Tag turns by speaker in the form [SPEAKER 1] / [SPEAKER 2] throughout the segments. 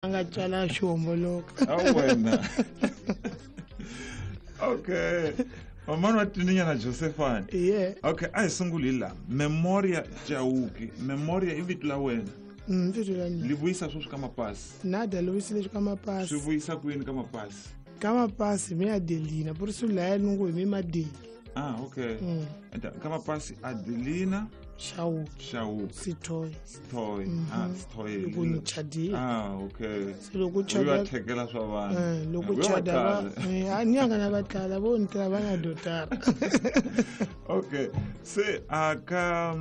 [SPEAKER 1] A nga tswala xi homboloka.
[SPEAKER 2] A wena. Okay. Mamani wa Tininya na Josephine.
[SPEAKER 1] Yeah.
[SPEAKER 2] Okay, a hi sunguli hi laha. Memoria Chauke. Memoria i vito la wena.
[SPEAKER 1] Vito la mina.
[SPEAKER 2] Li vuyisa sweswi ka mapasi.
[SPEAKER 1] Nada li vuyisile ka mapasi.
[SPEAKER 2] Swi vuyisa kwini ka mapasi?
[SPEAKER 1] Ka mapasi mi Adelina, por isso laya ni ngo hi mi Madeli.
[SPEAKER 2] Ah, okay. Ka mapasi Adelina
[SPEAKER 1] Chauke.
[SPEAKER 2] Chauke.
[SPEAKER 1] Sithoy.
[SPEAKER 2] Sithoy. Ah, Sithoy.
[SPEAKER 1] Loko ni chadile.
[SPEAKER 2] Ah, okay.
[SPEAKER 1] Se loko chada.
[SPEAKER 2] Uya thekela swa vanhu.
[SPEAKER 1] Loko chada va ni anga na vatlala vo ni tla va na dotara.
[SPEAKER 2] Okay. Se aka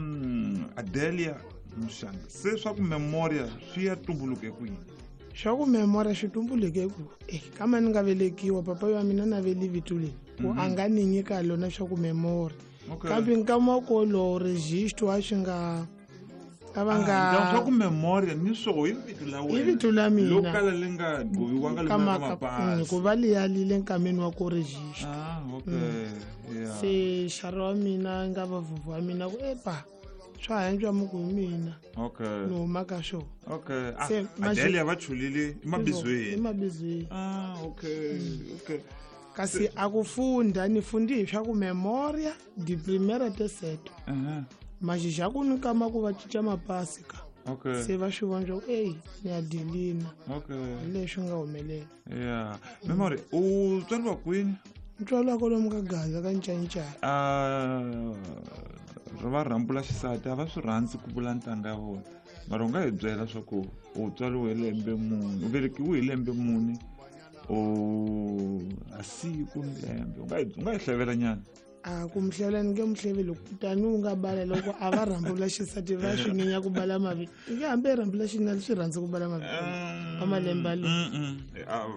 [SPEAKER 2] Adelia Mushanga. Se swa ku memoria swi ya tumbuluke kwini?
[SPEAKER 1] Swa ku memoria swi tumbuluke ku kama ni nga velekiwa papa wa mina na veli vito leri ku a nga ni nyika lona swa ku memoria.
[SPEAKER 2] Okay.
[SPEAKER 1] Kambe nkama ko lo registro a swi nga a va nga
[SPEAKER 2] swa ku memoria ni swo hi vito la wena.
[SPEAKER 1] I vito la mina.
[SPEAKER 2] Lo kala li nga ghoviwanga li nga mapasi.
[SPEAKER 1] Ku va li yalile nkameni wa ku register.
[SPEAKER 2] Ah, okay. Yeah.
[SPEAKER 1] Se xara wa mina nga va vuvu wa mina ku epa swa hantswa muku hi mina.
[SPEAKER 2] Okay.
[SPEAKER 1] Ni huma ka swo.
[SPEAKER 2] Okay. Se Adelia va chulile emabizweni.
[SPEAKER 1] Emabizweni.
[SPEAKER 2] Ah, okay. Okay.
[SPEAKER 1] Kasi a ku funda ni fundi hi swa ku memoria di primera te seto. Maxixa ku ni kama ku va cinca mapasi ka.
[SPEAKER 2] Okay.
[SPEAKER 1] Se va swi vona swa ku ey ni Adelina.
[SPEAKER 2] Okay.
[SPEAKER 1] Hi leswi nga humelela.
[SPEAKER 2] Yeah. Memory u tswariwa kwini?
[SPEAKER 1] Ni tswariwa kwalomu ka Gaza ka Ncancana.
[SPEAKER 2] Ri va rhambula xisati a va swi rhandzi ku vula ntanga ya vona. Mara u nga hi byela swa ku u tswariwe hi lembe muni, u velekiwe hi lembe muni. O a siku ni lembe u nga hi hlevela nyana.
[SPEAKER 1] A ku muhlevela ni nge muhleveli kutani u nga bala loko a va rhambula xisati va swi nyenya ku bala mavito. Nge hambi rhambula xinuna swi rhandzi ku bala mavito ka malembe alo.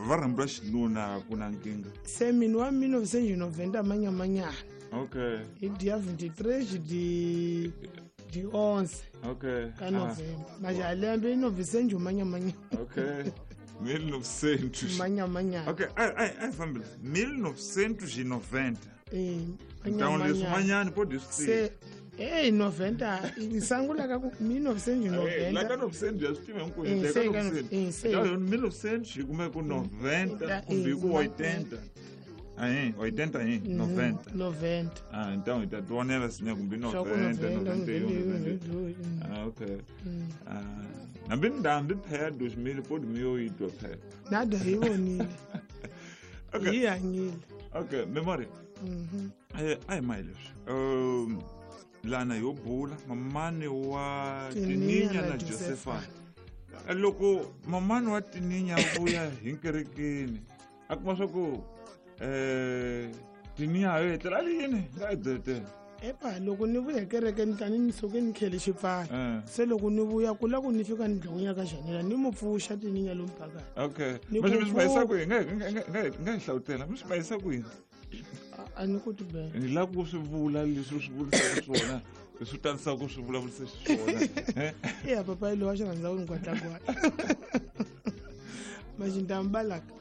[SPEAKER 2] Va rhambula xinuna ku na nkingha.
[SPEAKER 1] Se mina wa 1990 manyamanyana.
[SPEAKER 2] Okay.
[SPEAKER 1] Hi dia 23 di 11.
[SPEAKER 2] Okay.
[SPEAKER 1] Ka November. Maja lembe i 900 manyamanyana.
[SPEAKER 2] Okay. 1900.
[SPEAKER 1] Manyamanyana.
[SPEAKER 2] Okay, ai fambile. 1990. Então leswi manyani pode
[SPEAKER 1] se eh 90 isangula ka 1990.
[SPEAKER 2] La ka 900 ya swi tiva hinkwenu ka 900. 1900 kumbe ku 90 kumbe ku 80. Aí, 80 aí, 90.
[SPEAKER 1] 90.
[SPEAKER 2] Ah, então tá tuonela assim, kumbe 90, 91, 92. Ah, ok. Ah, nambi ndambi phela 2000 pode 2008 phela.
[SPEAKER 1] Nada hi vonile.
[SPEAKER 2] Okay.
[SPEAKER 1] Hi hanyile.
[SPEAKER 2] Okay, memory. Ai mai leswi. Lana yo bula mamani wa Tininya na Josephine. Loko mamani wa Tininya vuya hi nkerekeni, a kuma swa ku Tininya yo etlela yini nga byetela.
[SPEAKER 1] Epa loko ni vuya kerekeni tani ni suke ni khele xipfalo. Se loko ni vuya ku la ku ni fika ni dlawunya ka Janela ni mu pfuxa Tininya lomu phakathi.
[SPEAKER 2] Okay. Mi swi bayisa kwihi? Nga hi hlawutela. Mi swi bayisa kwihi?
[SPEAKER 1] A ni ku tibela.
[SPEAKER 2] Ni lava ku swi vula leswi u swi vurisaka swona. Leswi u tanisaka ku swi vulavurisa xiswona.
[SPEAKER 1] Eya papa lowa xi rhandza ku ni gwadlagwadla. Maxintambalaka.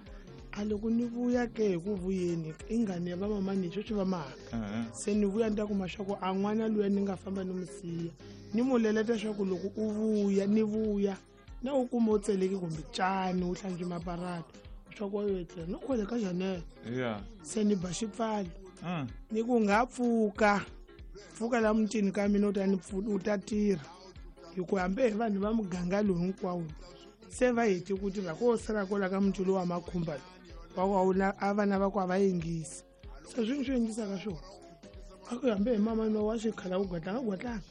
[SPEAKER 1] A loko ni vuya ke hi ku vuyeni i ngani ya vamamani sweswi va mhaka. Se ni vuya ni ta kuma swa ku a n'wana luya ni nga famba ni mu siya. Ni mu leleta swa ku loko u vuya ni vuya na u kuma u tseleki kumbe cani u hlantswi maparata swa ku yo etlela no khwele ka Janela.
[SPEAKER 2] Yeah.
[SPEAKER 1] Se ni ba xipfalo. Ni ku nga pfuka. Pfuka la mutini ka mina u ta ni u ta tirha. Hi ku hambi hi vanhu va muganga lowu hinkwawo. Se va heti ku tirha ko sala kwala ka muti lowu wa makhumba wa a vana va ku a va yingisi. Se swi swi yingisaka swona. A ku hambi hi mama no wa xikhala ku gwatlanga gwatlanga.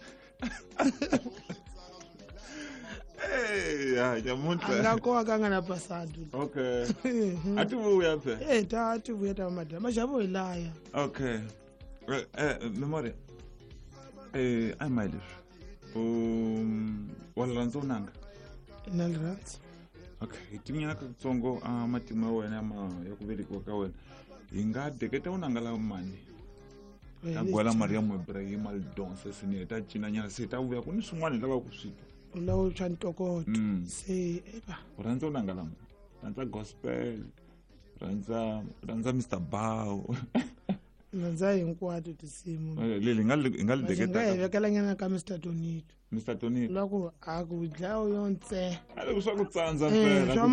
[SPEAKER 2] Eh, ya nyamuntlha.
[SPEAKER 1] A nga kowa ka nga na pasado.
[SPEAKER 2] Okay. A ti vuya phe.
[SPEAKER 1] Eh, ta ti vuya ta madama maxavo hi laya.
[SPEAKER 2] Okay. Memory. Ai mai leswi. Wa rhandza unanga?
[SPEAKER 1] Na li rhandza.
[SPEAKER 2] Okay, hi tinyana katsongo a matimu ya wena ya ku velekiwa ka wena. Hi nga deketa unanga la mani. Ta gwala Maria Ibrahim Aldonsa sine ta cina nyana se ta vuya ku ni swin'wana hi lava ku swi twa.
[SPEAKER 1] U lava swa ntokoto. Se eba.
[SPEAKER 2] U rhandza unanga la mani? Rhandza gospel. Rhandza Mr. Bow.
[SPEAKER 1] Rhandza hinkwato tinsimu.
[SPEAKER 2] Leli nga li deketa.
[SPEAKER 1] Nga hi vekela nyana ka Mr. Tonito.
[SPEAKER 2] Mr. Tonito.
[SPEAKER 1] Loko a ku dlawa yo ntse.
[SPEAKER 2] A loko swa ku tsandza phela.
[SPEAKER 1] Swa